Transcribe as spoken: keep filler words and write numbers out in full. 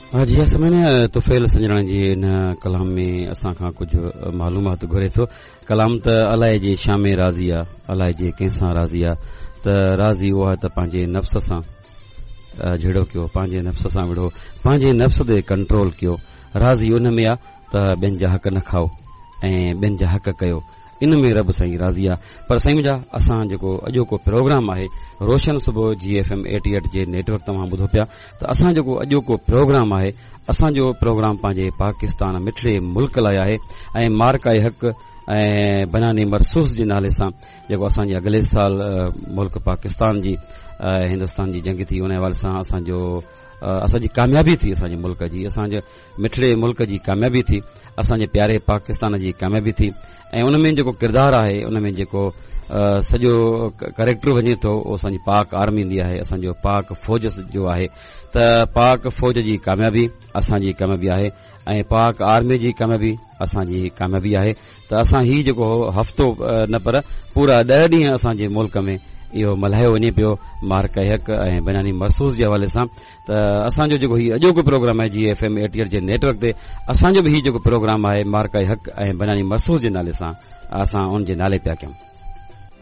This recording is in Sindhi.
ها جي سمي طفيل سنجراڻي جي ان ڪلام ۾ اسان کان ڪجهه معلومات گهري ٿو. ڪلام ته الائي جي شامي راضي آهي، الائي جي ڪنهن سان راضي آهي، ته راضي اهو آهي ته پنهنجي نفس سان جهيڙو ڪيو، پنهنجي نفس سان وڙهو، پنهنجي نفس تي ڪنٽرول ڪيو. راضي ان ۾ آهي ته ٻين جا حق نه کائو ۽ ٻين جا حق ڪيو، ان ۾ رب سائين راضي آهي. پر سائين منهنجا، اسان جيڪو اڄوڪو پروگرام آهي روشن صبح جي ايف ايم ايٽي ايٽ جي نيٽ ورڪ توهان ٻڌو پيا، ته اسان جيڪو اڄوڪو پروگرام آهي، اسان جو پروگرام پنهنجي پاڪستان مٺڙي ملڪ لاءِ آهي ۽ معرڪه حق ۽ بناني مرسوس جي نالي سان جيڪو اسان جي اڳلي سال ملڪ پاڪستان جي هندستان جي جنگ ٿي، ان حوالي سان اسان جو اسان جي ڪاميابي ٿي، اسان جي ملڪ جي، اسان جي مٺڙي ملڪ جي ڪاميابي ٿي، اسان جي پياري پاڪستان جي ڪاميابي ٿي. ۽ ان ۾ جيڪو ڪردار آهي، ان ۾ جيڪو سڄو ڪريڪٽر وڃي ٿو، اهو اسان جي پاڪ آرمي ايندي آهي، اسان جو پاڪ فوج جو آهي. ته پاڪ فوج جي ڪاميابي اسان جي ڪاميابي آهي ۽ پاڪ آرمي جي ڪاميابي اسان جي ڪاميابي آهي. ته اسان هي جيڪو هفتو نه پر پورا ڏهه ڏينهن اسان جي ملڪ ۾ اهو ملهايو وڃي پيو معرڪه حق ۽ بناني مرسوس جي حوالي سان. ته اسان جو جيڪو هي اڄوڪو پروگرام آهي جي ايف ايم ايٽي ايٽ جي نيٽ ورڪ تي، اسان جو به هي جيڪو پروگرام آهي معرڪه حق ۽ بناني مرسوس جي نالي سان، اسان ان جي نالي پيا ڪيون.